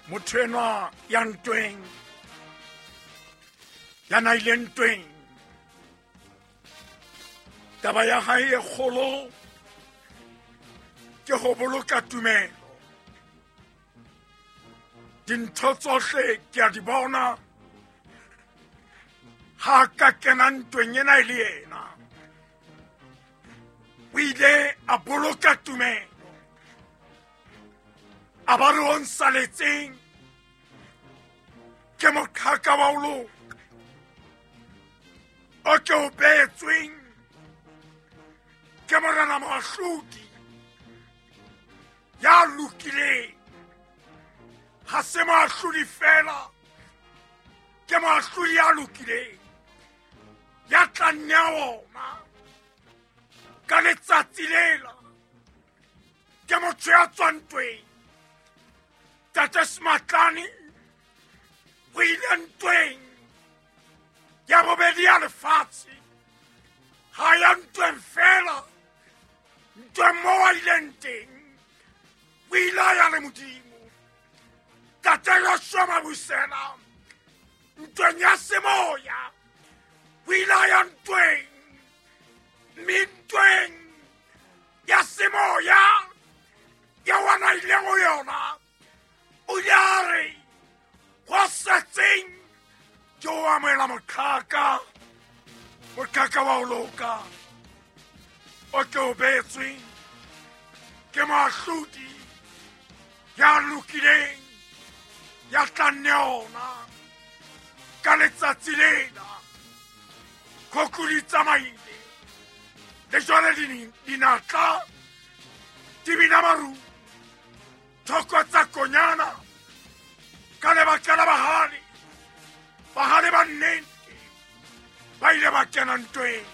Motho enwa ya ntweng, ya na ile ntweng, taba ya hae e kgolo ke ho boloka tumelo. Dintho tsohle ke a di bona, ha ka kena ntweng ena e le yena. O ile a boloka tumelo, a ba re o nsaletseng ke moqhaka wa ho loka o ke o beetsweng ke Morena Moahlodi ya lokileng. Ha se moahlodi fela, ke moahlodi ya lokileng ya tla nnea ona ka letsatsi lela. Ke motho ya tswang ntweng. Tate Sematlane o ile ntweng ya bobedi ya lefatshe. Ha ya ntweng fela, ntweng moo a ileng teng o ile a ya le Modimo. Tate Joshua Mabusela ntweng ya semoya o ile a ya ntweng, mme ntweng ya semoya ya wana ileng ho yona o ile a re go setseng ke o amohela moqhaka, moqhaka wa ho loka o ke o beetsweng ke moahlodi ya lokileng ya tla nne ona ka letsatsi lena. Khokhu di tsamaile le jwale dinatla di bina maru, thoko tsa konyana ka lebaka la bahale, bahale ba nnete ba ile ba kena ntweng.